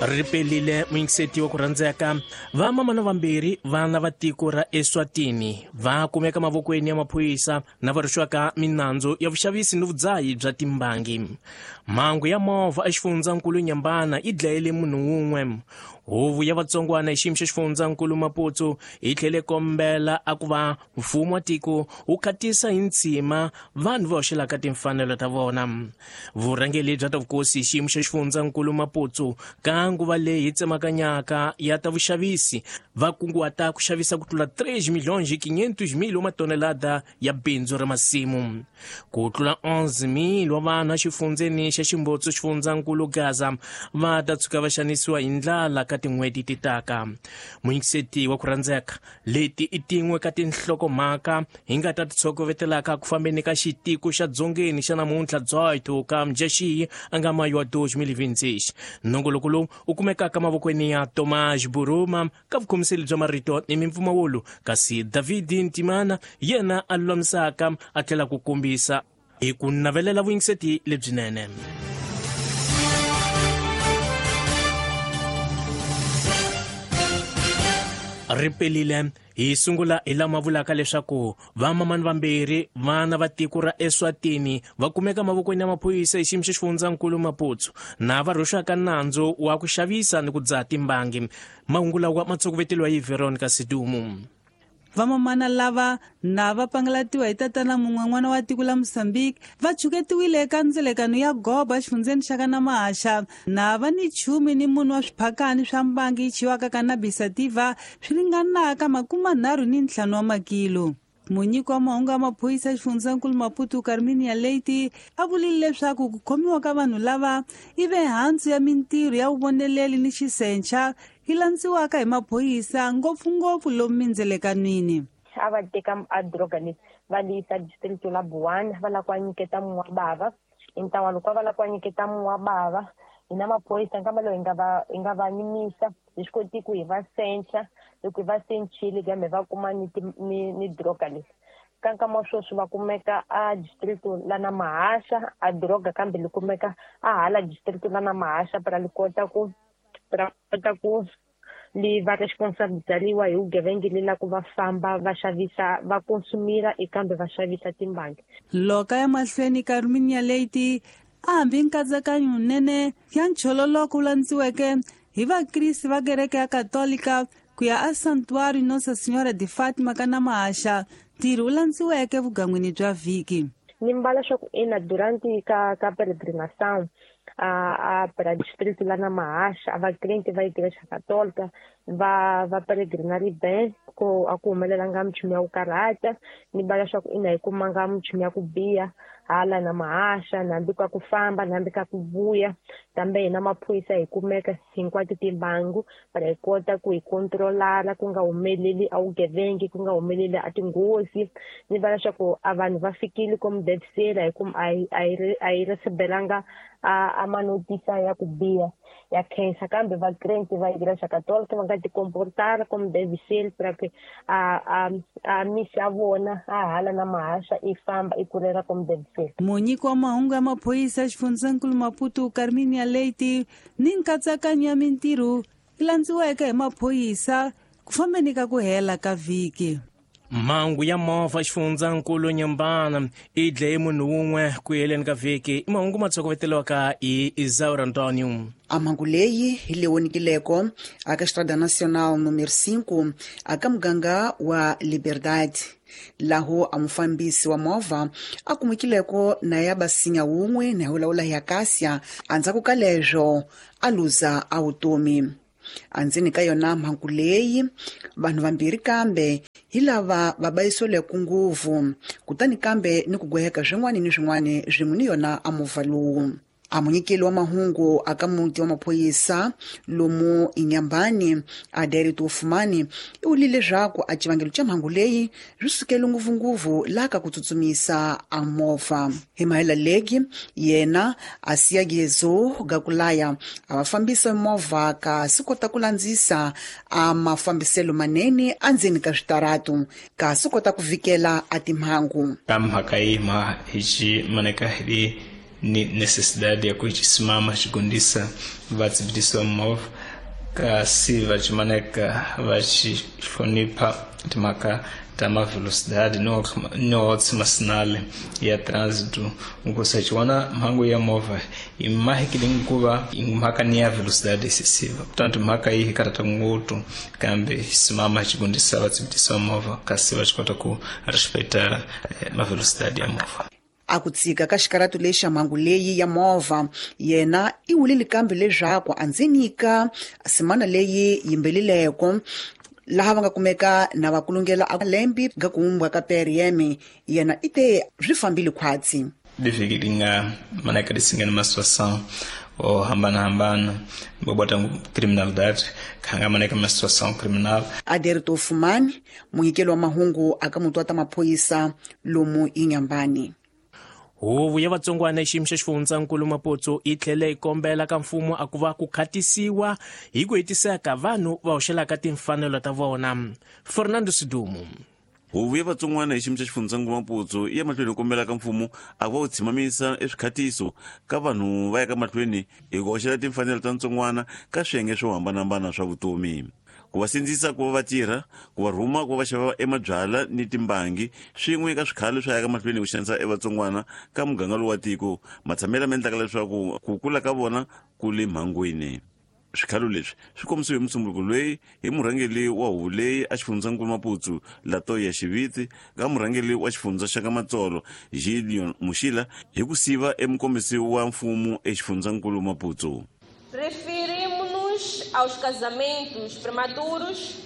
Ri pelile muyingiseti wa ku rhandzeka. Vamamana vambirhi vana va tiko ra Eswatini va kumeka mavokweni ya maphorisa na va rhwexiwaka minandzu ya vuxavisi ni vudzahi bya timbangi. Mhangu ya movha exifundzankulu Nyambana yi dlayele munhu wun'we. Huvo ya vatsongwana hi xiyimo xa xifundzankulu Maputo yi tlhele kombela a ku va mfumo wa tiko wu khatisa hi ntshima vanhu va hoxelaka timfanelo ta vona. Vurhangeri bya ta vukosi hi xiyimo xa xifundzankulu Maputo ka nguva leyi tsemakanyaka ya ta vuxavisi va kunguhata ku xavisa ku tlula 3 milhões e 500 mil wa matonelada ya bindzu ra masimu. Ku tlula 11 mil wa vanhu exifundzeni xa Ximbotso xifundzankulu Gaza va ta tshuka va xanisiwa hi ndlala ka tin'hweti ti taka. Muyingiseti wa ku rhandzeka, leti i tin'we ka tinhlokomhaka hi nga ta ti tshokovetelaka ku fambeni ka xitiko xa dzongeni xa namuntlha 18 ka Mudyaxihi a nga mayu wa 2026. Nongoloko lowu u kumekaka mavokweni ya Tomás Buruma ka vukhomiseli bya marito ni mimpfumawulo, kasi David Ntimana yena a lulamisaka a tlhela ku kombisa hi ku navelela vuyingiseti lebyinene. Ri pelile hi sungula hi lama vulaka leswaku vamamani vambirhi vana va tiko ra Eswatini va kumeka mavokweni ya maphorisa hi xiyimo xa xifundzankulu Maputo na va rhwexiwaka nandzu wa ku xavisa ni ku dzaha timbangi. Mahungu lawa ma tshokoveteliwa hi Veronica Sidumu. Vamamana lava na va pangalatiwa hi tatana mun'we n'wana wa tiko la Mozambique va chuketiwile eka ndzelekano ya goba exifundzeni xa ka Namahaxa na va ni chumi ni munhu wa swiphakani swa mbangi yi chiwaka cannabis sativa swi ringanaka 35 wa makilo. Munyiki wa mahungu ya maphorisa exifundzankulu Maputo Carminia Leite a vulile leswaku ku khomiwa ka vanhu lava i ve hansi ya mintirho ya vuvoneleli ni xisencha yi landziwaka hi maphorisa ngopfungopfu lomu mindzelekanwini. A va teka a droga leyi va li yisa district la Buwana va lava ku va nyiketa munhu wa bava hi ntlawa loko va lava ku va nyiketa munhu wa bava hina maphorisa nkama lowu hi nga va yimisa hi swi koti ku hi va sencha loko hi va senchile kambe va kuma ni droga leyi ka nkama wa sweswi va kumeka a district la na Mahasha a droga kambe li kumeka a hala district la na Mahasha para li kota ku ra kota ku li va responsabilizariwa hi vugevenga li la ku va famba va xavisa va konsumira kambe va xavisa timbangi. Loka ya mahlweni Carminia Leite a hambi nkatsakanyo nene ya nchololoko wu landziweke hi vakriste va kereke ya Katolika ku ya a Santuário Nossa Senhora de Fátima ka Namahaxa ntirho wu landziweke vugangwini bya vhiki. Ni mbala swa ku ina durante ka peregrinação a para distrito lá na Mahasha a vakrente va igreja católica va peregrinari bem ko a ku humelelanga minchumu ya ku karhata ni mbala swa ku ina hi kumanga minchumu ya ku biha hala na Mahasha nambi ka ku famba nambi ka ku vuya kambe hina maphorisa hi kumeka hinkwato timbangu para hi kota ku hi controlara ku nga humeleli a vugevengi ku nga humeleli a tinghozi ni vula leswaku a vanhu va fikile komu devisela hi ku a hi recebelanga a manotisa ya ku biha ya khensa kambe vakrente va igreja católica va nga ti comportara como deve ser para que a misi ya vona a hala na Mahasha i famba i kurela como deve ser. Munyiki wa mahungu ya maphorisa xifundzankulu Maputo Carminia Leite ni nkatsakanyo ya mintirho yi landziweke hi maphorisa ku fambeni ka ku hela ka vhiki. Mhangu ya movha xifundzankulu Nyambana i dlaye munhu wun'we ku heleni ka vhiki. I mahungu ma tshokoveteliwaka hi Isaura Antonio. A mhangu leyi hi leyi vonikileko aka Estrada Nacional número 5 aka muganga wa Liberdade laho a mufambisi wa movha a kumekileko na ya basinya wun'we na ya hi Acacia andzhaku ka leswo a luza a vutomi. Andzeni ka yona mhangu leyi vanhu vambirhi kambe hi lava va bayisweleke nguvu kutani kambe ni ku gweheka swin'wana ni swin'wana swin'we ni yona a movha lowu. A munyikeli wa mahungu aka muti wa maphorisa lomu Inyambani a Derito Fumani i vulile leswaku a xivangelo xa mhangu leyi swi sukele ngopfungopfu laha ka ku tsutsumisa a movha. Hi mahela legi yena a siya gezo gakulaya a va fambisa movha kasi kota ku landzisa a mafambiselo manene andzeni ka switaratu kasi kota ku vikela a timhangu. Ka mhaka yi ma hi xi maneka hi Ni necessidade ya kuchisimama xigondisa vatsibitisi va movha kasi vachimaneka vachihlonipha timhaka ta mavelocidade no masinale ya trânsito nkosi achiona mhangu ya movha imahekile nkuva mhaka ni ya velocidade excessiva. Portanto, mhaka iyi karata nguthu kambe simama xigondisa vatsibitisi va movha kasi vachikota ku respeitar mavelocidade ya movha. A ku tsika ka xikaratu lexa mhangu leyi ya movha yena i wulile kambe leswaku a ndzi nyika semana leyi yimbelileko laha va nga kumeka na va kulungela a lembi ga kuumbwa ka PRM yena i te swi fambile khwatsi. Livhiki li nga manaka lisingana ma situação o hambana-hambana bobota criminalidade khanga maneka ma situação criminal. Aderto Fumani, munyikeli wa mahungu aka mutu wa ta maphorisa lomu Inhambane. Huvo ya vatsongwana xiyimo xa xifundzankulu Maputo yi tlhele yi kombela ka mfumo a ku va ku khatisiwa hi ku hetiseka vanhu va hoxelaka timfanelo ta vona. Fernando Sidumo. Huvo ya vatsongwana hi xiyimo xa xifundzankulu Maputo yi ya mahlweni yi kombela ka mfumo a ku va ku tshimamisa eswikhatiso ka vanhu va ya ka mahlweni hi ku hoxela timfanelo ta ntsongwana ka swiyenge swo hambanahambana swa vutomi, ku va sindzisa ku va va tirha, ku va rhuma ku va va xava emabyala ni timbangi swin'we ka swikhalo swa ya ka mahlweni ku xanisa evatsongwana ka muganga lowu wa tiko matshamelo ma endlaka leswaku ku kula ka vona ku le mhangwini. Swikhalo leswi swi kombisiwe hi musumbuluko loyi hi murhangeri wa huvo leyi a xifundzankulu Maputo Latoya Xiviti ka murhangeri wa xifundza xa ka Matsolo Gideon Muxila hi ku siva emukombisi wa mfumo exifundzankulu Maputo. Referimos-nos aos casamentos prematuros,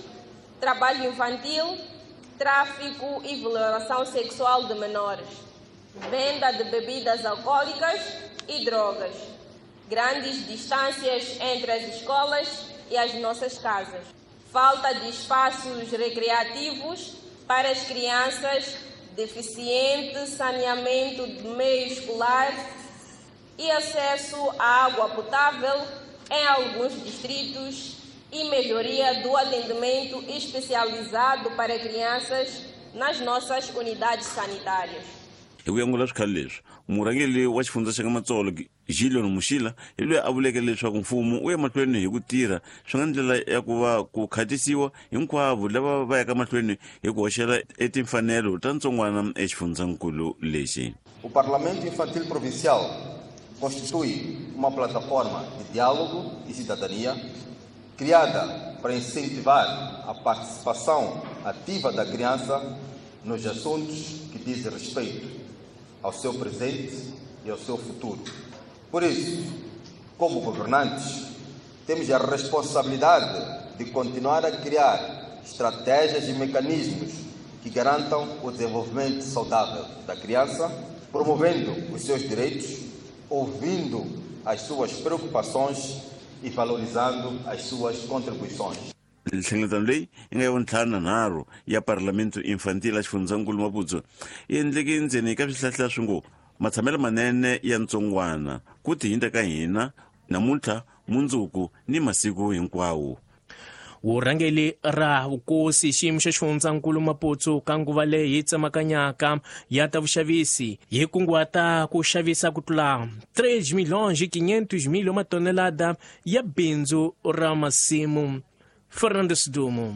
trabalho infantil, tráfico e violação sexual de menores, venda de bebidas alcoólicas e drogas, grandes distâncias entre as escolas e as nossas casas, falta de espaços recreativos para as crianças, deficiente saneamento de meio escolar e acesso à água potável em alguns distritos e melhoria do atendimento especializado para crianças nas nossas unidades sanitárias. Hi ku angula swikhalo leswi, murhangeri wa xifundza xa ka Matsolo Gideon Muxila hi loyi a vuleke leswaku mfumo wu ya mahlweni hi ku tirha swi nga ndlela ya ku va ku khatisiwa hinkwavo lava va yaka mahlweni hi ku hoxela etimfanelo ta ntsongwana exifundzankulu lexi. O Parlamento Infantil Provincial constitui uma plataforma de diálogo e cidadania criada para incentivar a participação ativa da criança nos assuntos que dizem respeito ao seu presente e ao seu futuro. Por isso, como governantes, temos a responsabilidade de continuar a criar estratégias e mecanismos que garantam o desenvolvimento saudável da criança, promovendo os seus direitos, ouvindo as suas preocupações e valorizando as suas contribuições. Nhlengeletano leyi yi nga ya vuntlhanu ya Parlamento Infantil a xifundzankulu Maputo yi endleke ndzeni ka swihlahla swi ngo matshamelo manene ya ntsongwana ku tihinta ka hina namuntlha, mundzuku ni masiku hinkwawo. Vurhangeri ra vukosi xiyimo xa xifundzankulu Maputo ka nguva leyi tsemakanyaka ya ta vuxavisi yi kunguhata ku xavisa ku tlula 3 milhões e 500 mil matonelada ya bindzu ra masimu. Fernando Sidumo.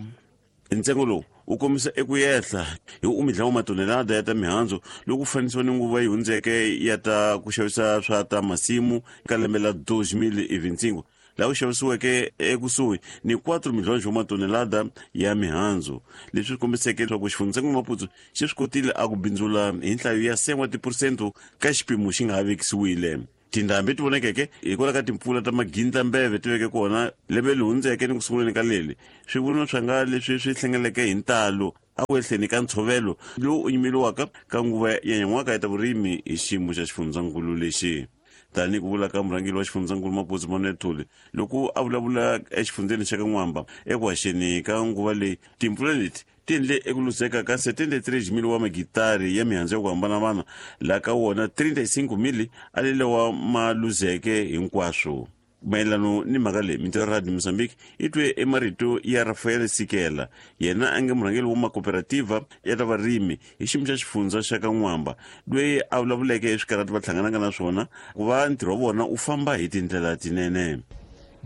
Ntsengo lowu wu kombisa eku yehla hi umidlawo matonelada ya ta mihandzu loko fanisiwa ni nguva yi hundzeke ya ta ku xavisa swa ta masimu ka lembe la 2025 laha ku xavisiweke ekusuhi ni 4 milhões wa matonelada ya mihandzu, leswi swi kombiseke leswaku xifundzankulu Maputo xi swi kotile a ku bindzula hi nhlayo ya 7 wa tiphurosente ka xipimo xi nga ha vekisiwile. Tindhambi ti vonekeke hikwalaho ka timpfula ta magindlambeve ti veke kona lembe leri hundzeke ni ku sunguleni ka leli, swivunwa swa nga leswi swi hlengeleke hi ntalo a ku ehleni ka ntshovelo lowu u nyimeliwaka ka nguva ya nyan'waka ya ta vurimi hi xiyimo xa xifundzankulu lexi. Tanihi ku vula ka murhangeri wa xifundzankulu Maputo Manuel Thuli loko a vulavula exifundzeni xa ka N'wamba eku haxeni ka nguva leyi, timpfula leti ti endle eku luzeka ka 73,000 wa magitari ya mihandzu ya ku hambanahambana, laha ka wona 35,000 a lelewa ma luzeke hinkwaswo. Mayelano ni mhaka leyi, Mintirho Radio Mozambique yi twe emarito ya Rafael Sikela, yena a nge murhangeri wa makooperativa ya ta varimi hi xiyimo xa xifundza xa ka N'wamba, loyi a vulavuleke hi swikarhati va hlanganaka na swona ku va ntirho wa vona wu famba hi tindlela tinene.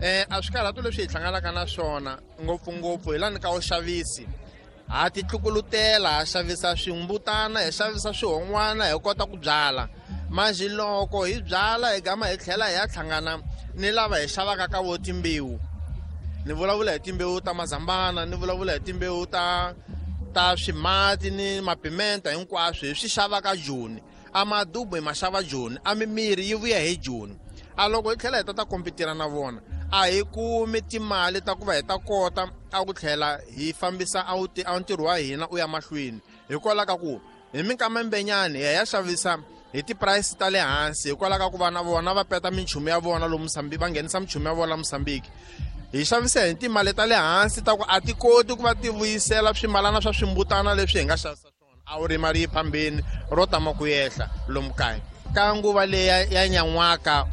A swikarhato leswi hi hlanganaka na swona ngopfungopfu hi lani ka vuxavisi, ha titlukulutela, ha xavisa swimbutana, hi xavisa swihon'wana, hi kota ku byala. Manjhe loko hi byala hi gama hi tlhela hi ya hlangana ni lava hi xavaka ka vo timbewu. Ni vulavula hi timbewu ta mazambana, ni vulavula hi timbewu ta swimati ni mapimenta, hinkwaswo hi swi xava ka Joni. A madubu hi ma xava Joni, a mimiri yi vuya hi Joni. A loko hi tlhela hi ta kompitira na vona, a hi kumi timali ta ku va hi ta kota a ku tlhela hi fambisa a ntirho wa hina u ya mahlweni. Hikwalaho ka ku hi minkama mbenyani hi ya xavisa hi ti-price ta le hansi, hikwalaho ka ku va na vona va peta minchumu ya vona lomu Mozambique, va nghenisa minchumu ya vona la Mozambique. Hi xavisa hi timali ta le hansi ta ku a ti koti ku va ti vuyisela swimalana swa swimbutana leswi hi nga xavisa swona. A wu rima ri yi phambeni ro tama ku yehla lomu kaya. Ka nguva leyi ya nyan'waka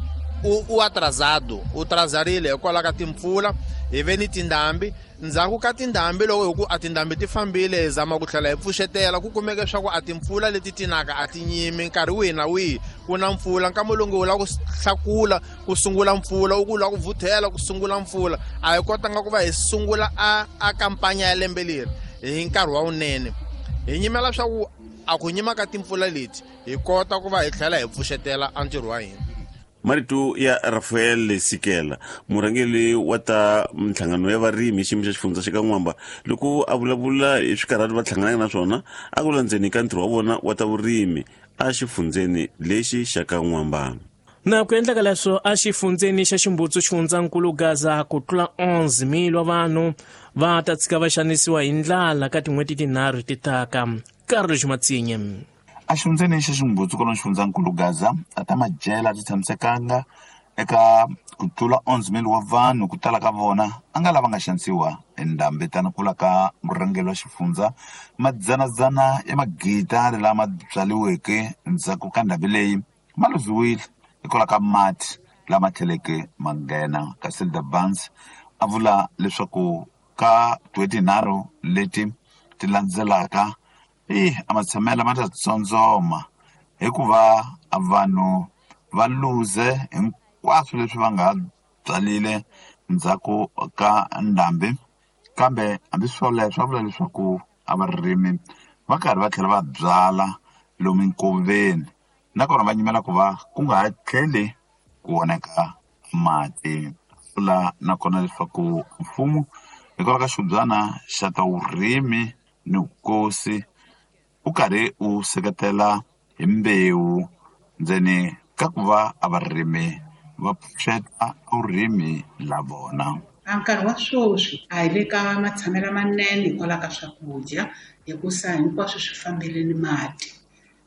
u atrasado, u trazarile hikwalaho ka timpfula, hi ve ni tindhambi. Ndzhaku ka tindhambi loko hi ku a tindhambi ti fambile, hi zama ku tlhela hi pfuxetela, ku kumeke swa ku a timpfula leti tinaka a ti nyimi nkarhi wihi na wihi ku na mpfula. Nkama lowu nge wu lava ku hlakula ku sungula mpfula, u ku lava ku vuthela ku sungula mpfula. A hi kotanga ku va hi sungula a kampanya ya lembe leri hi nkarhi wa wunene. Hi nyimela swa ku a ku nyima ka timpfula leti hi kota ku va hi tlhela hi pfuxetela a ntirho wa hina. Marito ya Rafael Sikela, murhangeri wa ta minhlangano ya varimi hi xiyimo xa xifundza xa ka N'wamba, loko a vulavula hi swikarhati va hlanganaka na swona a ku landzeni ka ntirho wa vona wa ta vurimi a xifundzeni lexi xa ka N'wamba. Na ku endleka leswo a xifundzeni xa Ximbutsu xifundzankulu Gaza, ku tlula 11,000 wa vanhu va ta tshika va xanisiwa hi ndlala ka tin'hweti tinharhu ti taka. Carlos Matsinye. A xifundzeni xa Ximbutsu kwalomu xifundzankulu Gaza, a ta madyela a ti tshamisekanga eka ku tlula 11,000 wa vanhu, ku tala ka vona a nga lava nga xanisiwa hi ndhambi. Tani kula ka murhangeri wa xifundza, madzanadzana ya magidari lama byariweke ndzhaku ka ndhambi leyi ma luziwile hikwalaho ka mati lama tlheleke ma nghena. Kasi the Barnes a vula leswaku ka tin'hweti tinharhu leti ti landzelaka a matshamelo ma ta tsondzoma hikuva vanhu va luze hinkwaswo leswi va nga byalile ndzhaku ka ndhambi. Kambe hambi swoleswo va vula leswaku a varimi va karhi va tlhela va byala lomu nkoveni, nakona va nyimela ku va ku nga ha tlheli ku onheka mati. Vula nakona leswaku mfumo hikwalaho ka xibyana xa ta vurimi ni vukosi u karhi u seketela hi mbewu ndzeni ka ku va a varimi va pfuxeta vurimi la vona. A nkarhi wa sweswi a hi le ka matshamelo manene hikwalaho ka swakudya, hikusa hinkwaswo swi fambile ni mati.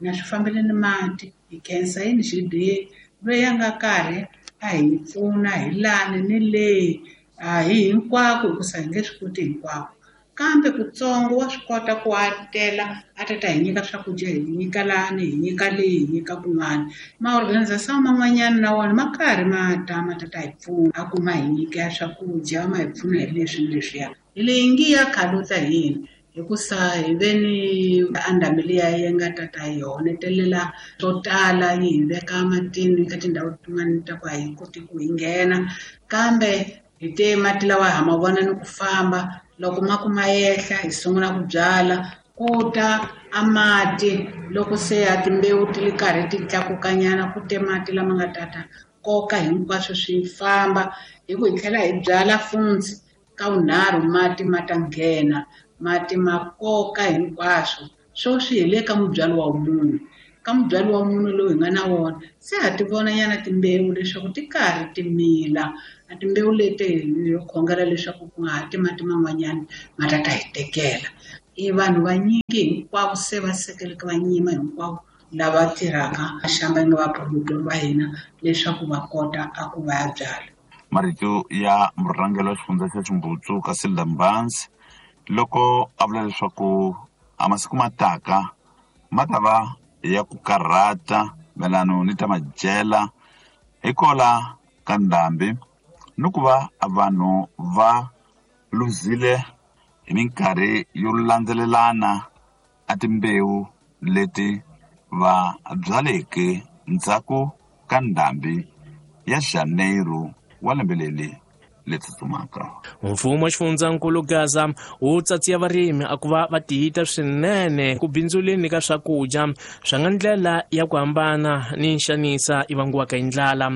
Na swi fambile ni mati, hi khensa yini G_D_A loyi a nga karhi a hi pfuna hi lani ni le, a hi hinkwako hikusa hi nge swi koti hinkwako. Kambe kutsongo wa swi kota ku a tela a ta ta hi nyika swakudya, hi nyika lani, hi nyika leyi, hi nyika kun'wana. Ma-organization man'wanyana na wona ma karhi ma ta ma ta ta hi pfuna, a ku ma hi nyika swakudya, ma hi pfuna hi leswi ni leswiya. Hi leyi ngi ya khaluta hi yini, hikusa hi ve ni a ndhambi liya yi nga ta ta hi honetelela swo tala, yi hi veka matini ka tindhawu tin'wani ta ku a hi koti ku hi nghena. Kambe hi te mati lawa ha ma vona ni ku famba, loko ma ku ma yehla hi sungula ku byala, ku ta a mati loko se a timbewu ti ri karhi ti tlakukanyana, ku te mati lama nga tata koka hinkwaswo swi famba. Hi ku hi tlhela hi byala funtsi ka vunharhu, mati ma ta nghena, mati ma koka hinkwaswo. Sweswi hi le ka mubyalo wa munhu, ka mubyalo wa munhu lowu hi nga na wona se ha ti vona nyana timbewu leswaku ti karhi ti mila. A timbewu leti hi khongela leswaku ku nga ha ti mati man'wanyana ma ta ta hi tekela. I vanhu vanyingi hinkwavo se va sekeleke va nyima hinkwavo lava tirhaka xamba nga vaproductor va hina leswaku va kota a ku va ya byala. Marito ya murhangeri wa xifundza xa Ximbutsu Casilda Mbanzi loko a vula leswaku a masiku ma taka ma ta va ya ku karhata mayelano ni ta madyela hikola ka ndhambi. ni ku va vanhu va luzile hi minkarhi yo landzelelana a timbewu leti va byaleke ndzhaku ka ndhambi ya Janeiro wa lembe leri le tsutsumaka. Mfumo wa xifundzankulu Gaza wu tsatsiya varimi a ku va va tiyita swinene ku bindzuleni ka swakudya swa nga ndlela ya ku hambana ni nxanisa yi vangiwaka hi ndlala.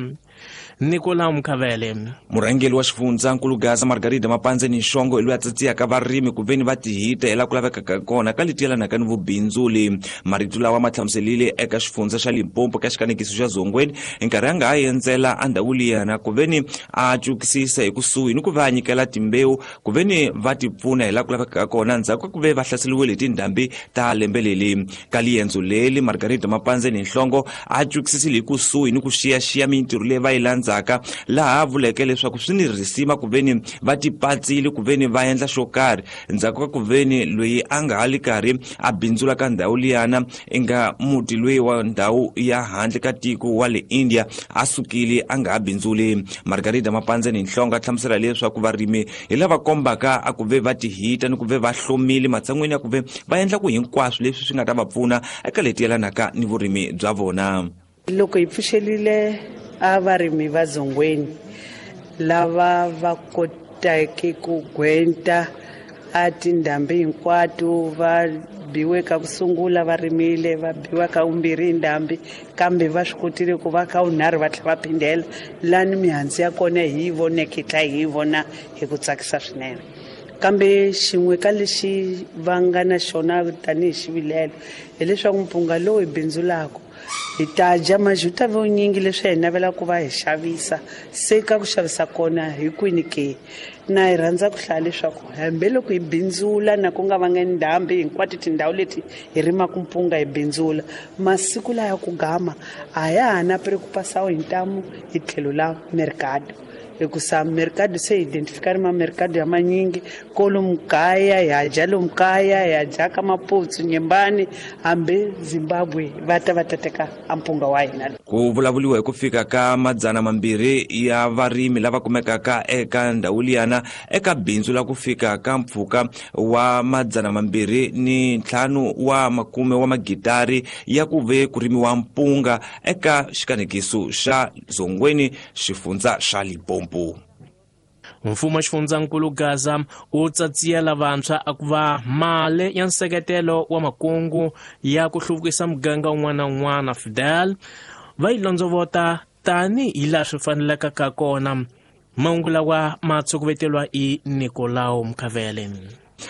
Nicolau Mkhavele. Murhangeri wa xifundzankulu Gaza Margarida Mapandzeni Nxongo hi loyi a tsatsiyaka varimi ku veni va tihita hi laha ku lavekaka kona ka leti yelanaka ni vubindzuli. Marito lawa ma hlamuselile eka xifundza xa Limpopo ka xikanekiso xa Zongweni hi nkarhi a nga ha endzela endhawu liyana ku veni a cukisisa hi kusuhi ni ku va a nyikela timbewu ku veni va ti pfuna hi laha ku lavekaka kona ndzhaku ka ku ve va hlaseriwile hi tindhambi ta lembe leli. Ka liendzo leli Margarida Mapandzeni Nhlongo a cukisisile hi kusuhi ni ku xiyaxiya mintirho leyi va yi landzaka, laha a vuleke leswaku swi ni risima ku veni va tipatsile ku veni va endla xo karhi ndzhaku ka ku veni loyi a nga ha li karhi a bindzula ka ndhawu liyana i nga muti loyi wa ndhawu ya handle ka tiko wa le India a sukile a nga ha bindzuli. Margarida Mapandzeni Nhlongo a hlamusela leswaku varimi hi lava kombaka a ku ve va tihita ni ku ve va hlomile matshan'weni ya ku ve va endla ku hinkwaswo leswi swi nga ta va pfuna eka leti yelanaka ni vurimi bya vona. Loko hi pfuxelile a varimi va Zongweni lava va koteke ku gwenta a tindhambi hinkwato, va biwe ka ku sungula va rimile, va biwa ka vumbirhi hi ndhambi, kambe va swi kotile ku va ka vunharhu va tlhela va phindela lani mihandzu ya kona hi yi voneke hi tlhela hi yi vona hi ku tsakisa swinene. Kambe xin'we ka lexi va nga na xona tanihi xivilelo hileswaku mpunga lowu hi bindzulaka hi ta dya majuta vunyingi leswi hi navelaka ku va hi xavisa, se ka ku xavisa kona hi kwini ke? Na hi rhandza ku hlaya leswaku hambiloko hi bindzula na ku nga vanga ndhambi hinkwato tindhawu leti hi rimaka mpunga hi bindzula, masiku laya ku gama a ya ha na preocupação hi ntamu hi tlhelo la mercado, hikusa mercado se identifika ri ma mercado ya manyingi kolomu kaya hi ha dya lomu kaya hi ha dya ka Maputsu Nyembani hambi Zimbabwe va ta va ta teka a mpunga wa hina. Ku vulavuriwa hi ku fika ka 200 ya varimi lava kumekaka eka ndhawu liyana eka bindzu la ku fika ka mpfhuka wa 205 wa makume wa magitari ya ku ve ku rimiwa mpunga eka xikanekiso xa Zongweni xifundza xa Limpopo. Mfumo wa xifundzankulu Gaza wu tsatsiyela vantshwa a ku va mali ya nseketelo wa makungu ya ku hluvukisa muganga wun'wana na wun'wana Fidel va yi londzovota tanihi laha swi fanelaka ka kona. Mahungu lawa ma tshukuveteriwa hi Nicolau Mkhavele.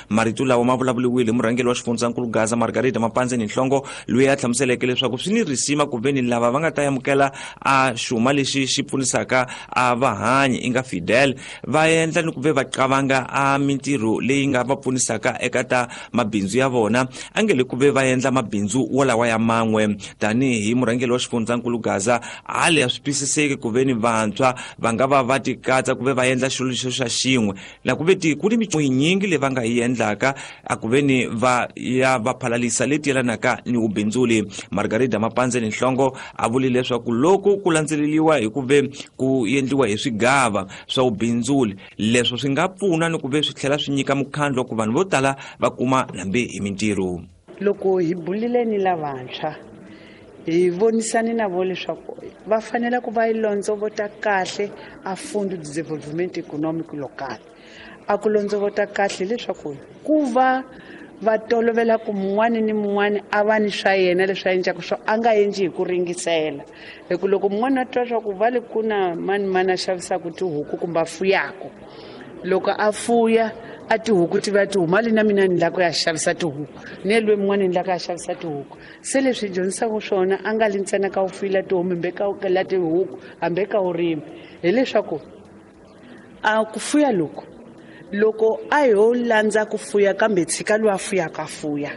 Marito lawa ma vulavuriwile hi murhangeri wa xifundzankulu Gaza Margarida Mapandzeni Nhlongo loyi a hlamuseleke leswaku swi ni risima ku veni lava va nga ta amukela a xuma lexi xi pfunisaka a vahanyi i nga Fidel va endla ni ku ve va qavanga a mintirho leyi nga va pfunisaka eka ta mabindzu ya vona, a nge le ku ve va endla mabindzu wolawa ya man'we. Tanihi murhangeri wa xifundzankulu Gaza a le a swi twisiseki ku veni vantshwa va nga va va tikatsa ku ve va endla xilo lexo xa xin'we na ku ve ku ni minyingi leyi va nga yi endlaka a ku veni va ya va phalalisa leti yelanaka ni vubindzuli. Margarida Mapandzeni Nhlongo a vule leswaku loko ku landzeleriwa hi ku ve ku endliwa hi swigava swa vubindzuli leswo swi nga pfuna ni ku ve swi tlhela swi nyika mukhandlu wa ku vanhu vo tala va kuma hambi hi mintirho. Loko hi bulile ni lavantshwa hi vonisane na vo leswaku va fanele ku va yi londzovota kahle a Fundo de Desenvolvimento Econômico Local. A ku londzovota kahle leswaku ku va va tolovela ku mun'wani ni mun'wani a va ni swa yena leswi a endlaka swo a nga endli hi ku ringisela, hi ku loko mun'wani a twa swa ku va le ku na mani mani a xavisaka tihuku kumbe a fuyaka, loko a fuya a tihuku ti va ti huma le na mina ni lava ku ya xavisa tihuku, ni loyi mun'wani ni lava ku ya xavisa tihuku. Se leswi hi dyondzisaka swona a nga li ntsena ka wu fuyela tihomu hambi ka la tihuku hambi ka vurimi, hileswaku a ku fuya loko loko a ho landza ku fuya kambe tshika loyi a fuyaka a fuya,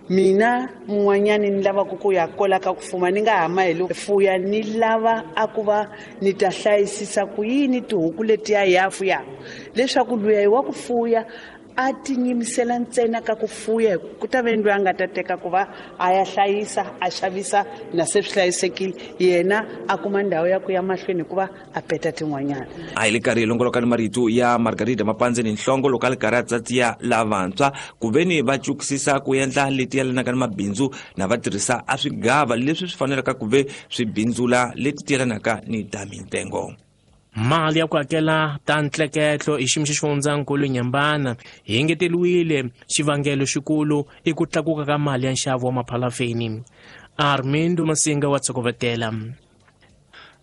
mina mun'wanyani ni lavaka ku ya kola ka ku fuma ni nga hama hi loko fuya ni lava a ku va ni ta hlayisisa ku yini tihuku letiya hi ya fuyaka, leswaku luya hi wa ku fuya a tinyimisela ntsena ka ku fuya ku ta ve loyi a nga ta teka ku va a ya hlayisa a xavisa na se swi hlayisekile yena a kuma ndhawu ya ku ya mahlweni hikuva a peta tin'wanyana. A hi le karhi hi longoloka ni marito ya Margarida Mapandzeni Nhlongo loko a li karhi a tsatsiya lavantshwa ku ve ni va cukisisa ku endla leti yelanaka ni mabindzu na va tirhisa a swigava leswi swi fanelaka ku ve swi bindzula leti ti yelanaka ni ta mintengo. Mali ya ku hakela ta ntleketlo hi xiyimo xa xifundzankulu Nyambana hi engeteriwile. Xivangelo xikulu i ku tlakuka ka mali ya nxavo wa maphalafeni. Armindo Masinga wa tshokovetela.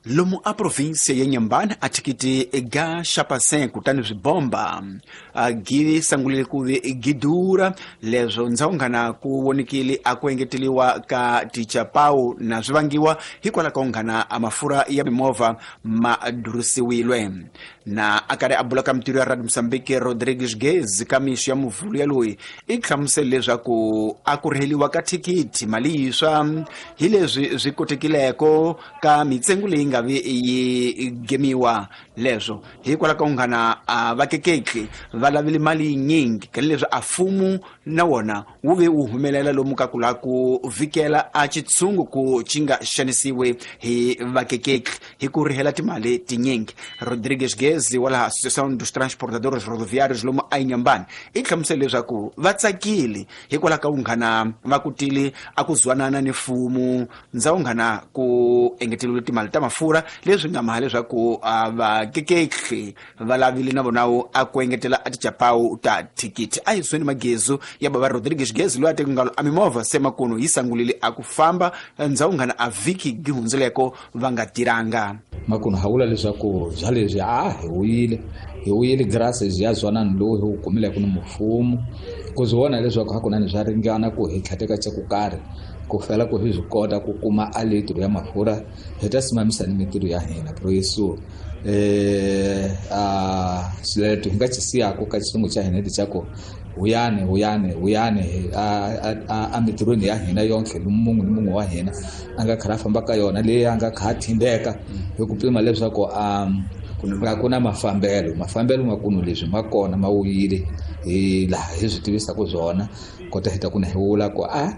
Lomu a província ya Inhambane a thikithi ga xapasen kutani swibomba gi sangulile ku ve gi durha leswo ndzawunghana ku vonikile a ku engeteliwa ka tichapau na swi vangiwa hikwalaho ka unghana a mafurha ya mimovha ma durhisiwile. Na a karhi a bula ka mintirho ya Radio Mozambique, Rodrigues Gez ka mixo ya muvhulu ya loyi i hlamusele leswaku a ku rheliwa ka thikithi mali yiswa hi leswi swi kotekileko ka mitsengo leyi nga vi yi gemiwa leswo hikwalaho ka unghana a vakeketli va lavile mali yinyingi ka leswi a mfumo na wona wu ve wu humelela lomu ka ku lava ku vhikela a xitshungu ku xi nga xanisiwi hi vakeketli hi ku rihela timali tinyingi. Rodrigues Gezi wa laha Associação dos Transportadores Rodoviários lomu a Inhambane i hlamusele leswaku va tsakile hikwalaho ka vunghana va kutile a ku zwanana ni mfumo ndzawunghana ku engeteriwile timali ta mafurha leswi nga maha leswaku a vakeketli va lavile na vona a ku engetela a tichapawu ta thikithi. A hi sweni magezu ya bava Rodrigues Gezi loyi a teke ngalo a mimovha se makuno yi sangulile a ku famba ndzawunghana a vhiki gi hundzileko va nga tirhanga. Makuno ha vula leswaku bya leswi a hi wuyile graces ya zwanani lowu hi wu kumileke ni mfumo ku swi vona leswaku hakunene swa ringana ku hi tlhateka xa ku karhi ku fela ku hi swi kota ku kuma a litro ya mafurha hi ta simamisa ni mintirho ya hina. Proyeso a xileto hi nga xi siyaka ka xilungu xa hina lexaku huyani a mintirhweni ya hina yonke mun'we ni mun'we wa hina a nga kha a famba ka yona leyi a nga kha a thindeka hi ku pima leswaku a ku na mafambelo makunu leswi ma kona ma wuyile hi laha hi swi tivisaka swona kota hi ta ku na hi vula ku a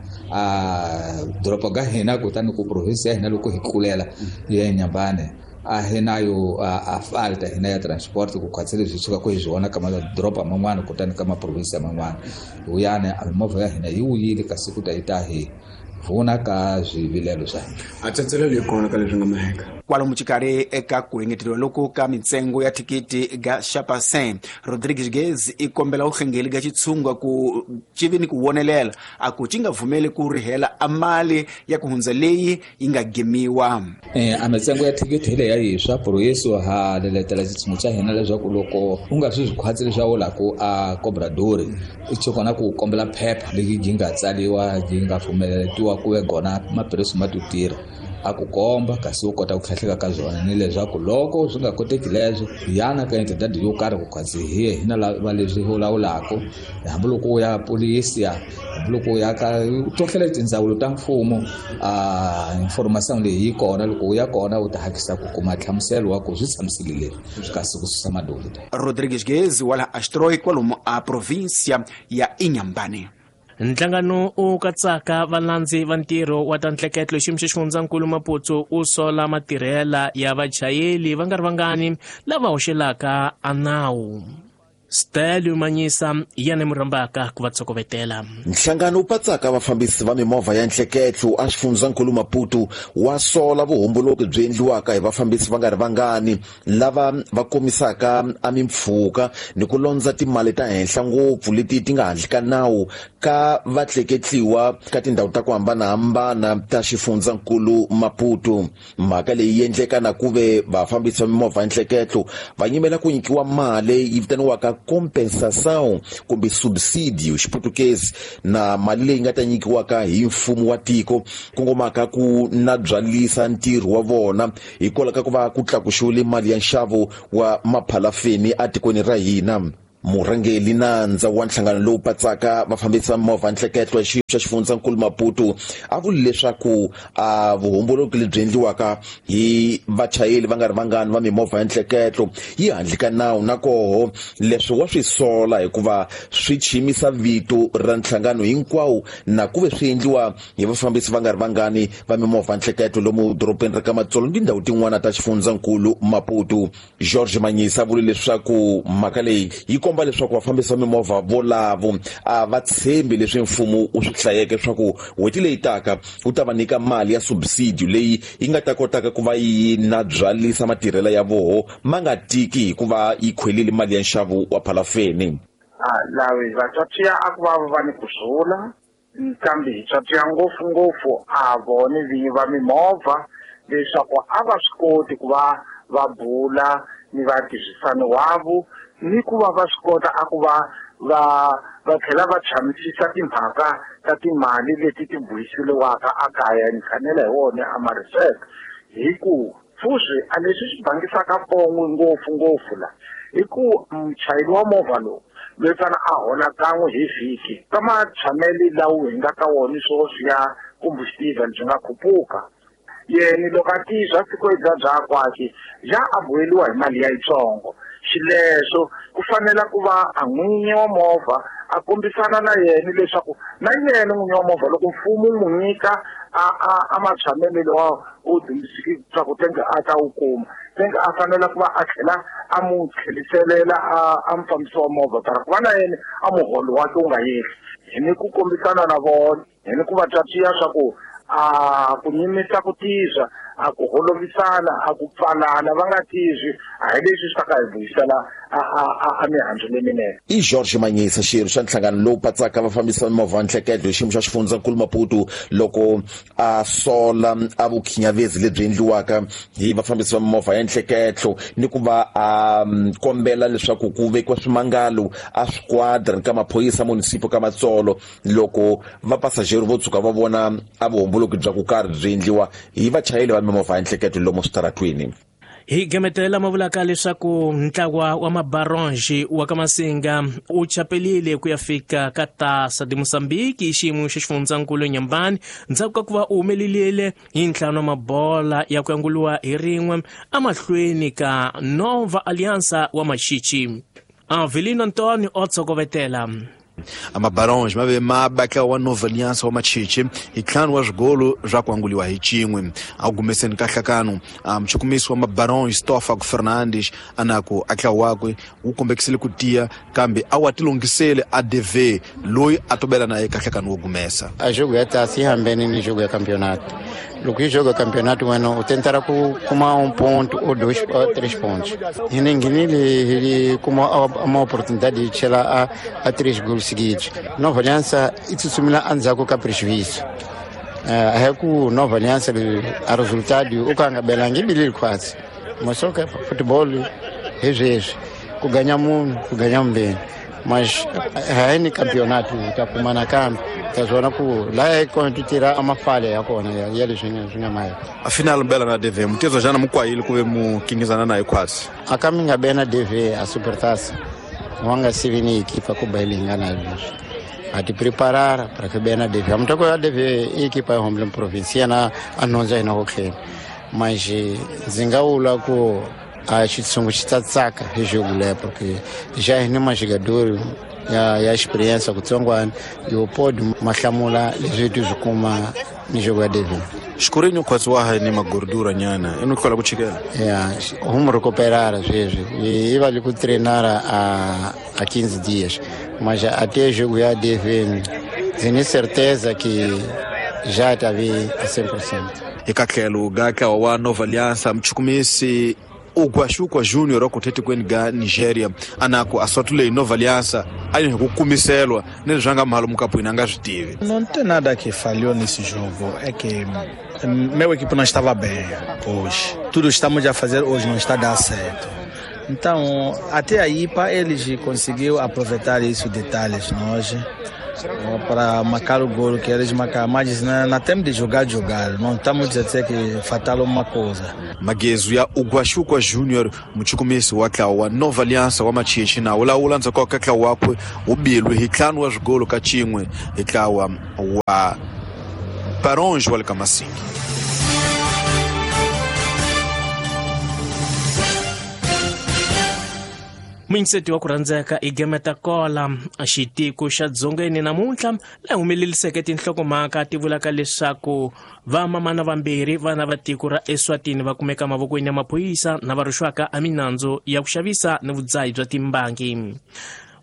doroba ka hina kutani ku province ya hina loko hi tlulela ya Inhambane a hi nayo a falta hina ya transport ku khwatsela leswi suka ku hi swi vona ka madoroba man'wana kutani ka maprovinsi man'wana. Huyani a mimovha ya hina yi wuyile kasi ku ta yi ta hi pfuna ka swivilelo swa hina. A tsatselelo yi kona ka leswi nga maheka kwalomu xikarhi eka ku engeteriwa loko ka mintsengo ya thikithi ga xapasen, Rodrigues Gez i kombela vuhlengeli ga xitshunga ku civi ni ku vonelela a ku ci nga pfumeli ku rihela a mali ya ku hundza leyi yi nga gemiwa. A mintsengo ya thikithi hi leyi ya yiswa proyeso ha leletela xitshungu xa hina leswaku loko u nga swi khwatsi leswaku u lava ku a cobradori i xi kona ku kombela phepha leyi yi nga tsariwa yi nga pfumeletiwa ku ve gona maphilisi ma to tirha a ku komba kasi u kota ku tlhatlheka ka byona ni leswaku loko swi nga koteki leswo yana ka entidade yo karhi ku khwatsi hi hina lava leswi lawulaka hambiloko u ya polisi hambiloko u ya ka tohle tindzawulo ta mfumo a information leyi yi kona loko u ya kona u ta hakisa ku kuma nhlamuselo wa ku swi tshamisekile leswi kasi ku susa madoli. Rodrigues Gezi wa laha Astroi kwalomu a província ya Inhambane. Nhlangano u katsaka valandzi va ntirho wa ta ntleketlo xiyimo xa xifundzankulu Maputo u sola matirhela ya vachayeli va nga ri vangani lava hoxelaka a nawu. Stelio Manyisa yena murhambaka ku va tshokovetela. Nhlangano wu patsaka vafambisi va mimovha ya ntleketlo a xifundzankulu Maputo wa sola vuhomboloki byi endliwaka hi vafambisi va nga ri vangani lava va komisaka a mimpfhuka ni ku londza timali ta henhla ngopfu leti ti nga handle ka nawu ka vatleketliwa ka tindhawu ta ku hambanahambana ta xifundzankulu Maputo. Mhaka leyi endleka na ku ve vafambisi va mimovha ya ntleketlo va yimela ku nyikiwa mali yi vitaniwaka compensação kumbe subsidio xiputukezi na mali leyi nga ta nyikiwaka hi mfumo wa tiko kongomaka ku na byalisa ntirho wa vona hikwalaho ka ku va ku tlakuxiwile mali ya nxavo wa maphalafeni etikweni ra hina. Murhangeli nandza wa nhlangano lowu patsaka vafambisi va mimovha nhleketlo ya xiyimo xa xifundzankulu Maputo a vuli leswaku a vuhomboloki lebyi endliwaka hi vachayeri va nga ri vangani va mimovha ya nhleketlo yi handle ka nawu, na koho leswi wa swi sola hikuva swi chimisa vito ra nhlangano hinkwawo na ku ve swi endliwa hi vafambisi va nga ri vangani va mimovha nhleketlo lomu dorobeni ra ka Matsolo ni tindhawu tin'wana ta xifundzankulu Maputo. George Manyisa vule leswaku mhaka leyi yi komba leswaku vafambisi va mimovha volavo a va tshembi leswi mfumo wu swi hlayeke leswaku n'hweti leyi taka wu ta va nyika mali ya subsidio leyi yi nga ta kotaka ku va yi na byalisa matirhelo ya voho ma nga tiki hikuva yi khwelile mali ya nxavo wa phalafeni. Lavi vatswatsi a ku va va ni ku zula kambe hi tswatsi ngopfungopfu a vone vinyi va mimovha leswaku a va swi koti ku va va bula ni vatirhisani wavo ni ku va va swi kota a ku va va tlhela va tshamisisa timhaka ta timali leti ti buyiseliwaka a kaya ni khanela hi wona a ma-research hi ku fuzi a leswi swi bangisaka pon'we ngopfungopfu la hi ku muchayeri wa movha lowu loyi fana a hola kan'we hi vhiki ka matshamelo lawa hi nga ka wona sweswi ya combustible byi nga khupuka yena loko a tizwa siku bya byakwake ja a boheliwa hi mali ya yitsongo xileswo ku fanela ku va a n'winyi wa movha a kombisana na yena leswaku na yena n'winyi wa movha loko mfumo wu n'wi nyika a matshamelo lawa u dyondzisiki swa ku tenge a ta wu kuma tenge a fanela ku va a tlhela a mu tlheliselela a mufambisi wa movha para ku va na yena a muholo wakhe wu nga yehli hi ni ku kombisana na vona hi ni ku va twatsiya swa ku a ku nyimisa ku tizwa a ku holovisana a ku pfalana va nga tizwi a hi leswi swi ta ka hi vuyisela a mihandzu leminene. I George Manyisa, xirho xa nhlangano lowu patsaka vafambisi va mimovha nhleketlo hi xiyimo xa xifundzankulu Maputo loko a sola a vukhinyavezi lebyi endliwaka hi vafambisi va mimovha ya nhleketlo ni ku va a kombela leswaku ku vekiwa swimangalo a swiquadra ka maphorisa munisipo ka Matsolo loko vapasajeri vo tshuka va vona a vuhomboloki bya ku karhi byi endliwa hi vachayeri va mimovha ya nhleketlo lomu switaratwini. Hi gemetela ma vulaka leswaku ntlawa wa mabaronji wa ka Masinga u chapelile ku ya fika ka Tasa de Mozambique hi xiyimo xa xifundzankulu Nyambani ndzhaku ka ku va u humelelile hi ntlhanu wa mabola ya ku yanguliwa hi rin'we emahlweni ka Nova Aliança wa Maxichi. Avelino Antonio o tsokovetela. Amabarons ma ve ma batla wa Nova Aliança wa Machichi hi ntlhanu wa swigolo swa ku anguliwa hi xin'we a gumeseni ka nhlakano. Muchukumisi wa mabarons Stofago Fernandes anaku a ntlawa wakwe wu kombekisile ku tiya kambe a wa tilungisele a DV loyi a tobela na ye ka nhlakano wo gumesa. A jogo ya taça ihambene ni jogo ya campeonato. Loko yi joga campeonato wena u tentara ku kuma ponto ou 2 ou 3 pontos. E ninguém ele kuma uma oportunidade de chegar a 3 gols seguidos. Nova Aliança itsutsumila endzhaku ka prejuízo. A ku Nova Aliança a resultado o kanga belangi bilili quase. Mas só que futebol é isso. Ku ganhar um, ku ganhar bem. Mas a ni campeonato ta kumana kambe ta zona ku la é quando tirar uma falha ya kona ya leswi nga maya. Afinal bela na DV mutezo jana mukwayile kuve mukingizana naye quase. Akaminga bena DV a supertaça. Wanga sivini equipa ku bailinga na leswi. A te preparar para que bena DV. Amtoko ya DV equipa ya Homeland Provincia na anonza ina hokhela. Mas zingaula ku a xitsungu xi tsatsaka hi jogo leyo porque já hi ni majogador ya experiência kutsongwana yo pode mahlamula leswi ti swi kuma ni jogo ya DV. Xikurini khwatsi wa ha ni magordura nyana i ni hlola ku chikela. Ya humu recuperar sweswi i va li ku treinar a 15 dias mas até jogo ya DV tenho certeza que já tá a 100%. Eka tlhelo ga ntlawa wa Nova Aliança muchukumisi Ugwashukwa Junior wa kuthetikweni ga Nigeria anaku aswatule Nova Aliança a yi ku kumiselwa ni leswi nga mhalo mukapwini a nga swi tivi. Não tem nada que falhou nesse jogo, é que meu equipe não estava bem hoje. Tudo estamos a fazer hoje não está a dar certo. Então, até aí, para eles conseguiu aproveitar isso detalhes nós. Para marcar o gol que eles marcaram, mas não temos de jogar. Não estamos a dizer que fatal uma coisa. Magezu ya Ugwashukwa Junior muchukumisi wa ntlawa wa Nova Aliança wa Machichi na wu lawula ndzhaku ka ntlawa wakwe wu bilwe hi 5 wa swigolo ka 1 hi ntlawa wa Baronge wa le ka Masingi. Muyingiseti wa ku rhandzeka i Gameta Kola xitiko xa Dzongeni namuntlha laha humeleliseke tinhlokomhaka ti vulaka leswaku vamamana vambirhi vana va tiko ra Eswatini va kumeka mavokweni ya maphorisa na va rixwaka eminandzu ya ku xavisa ni vudzahi bya timbangi.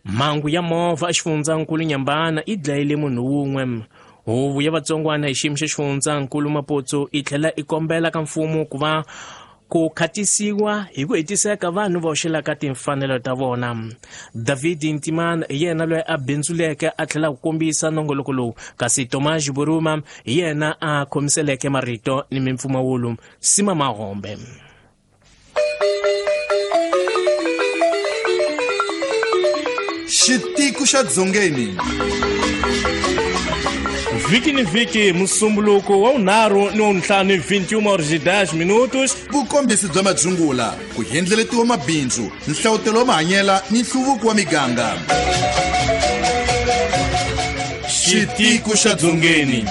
Mhangu ya movha exifundzankulu Nyambana yi dlayile munhu wun'we. Huvo ya vatsongwana hi xiyimo xa xifundzankulu Maputo yi tlhela yi kombela ka mfumo ku va ku khatisiwa hi ku hetiseka vanhu va hoxelaka timfanelo ta vona. David Ntimana hi yena loyi a bindzuleke a tlhela ku kombisa nongoloko lowu, kasi Tomas Buruma hi yena a khomiseleke marito ni mimpfumawulo. Sima Mahombe. Xitiko xa Dzongeni. Vhiki ni vhiki musumbuluko wa vunharhu ni wa vuntlhanu 21h10 minutos. Vukombisi bya madzungula, ku hendleletiwa mabindzu, nhlawutelo wa mahanyela ni nhluvuko wa miganga. Xitiko xa Dzongeni.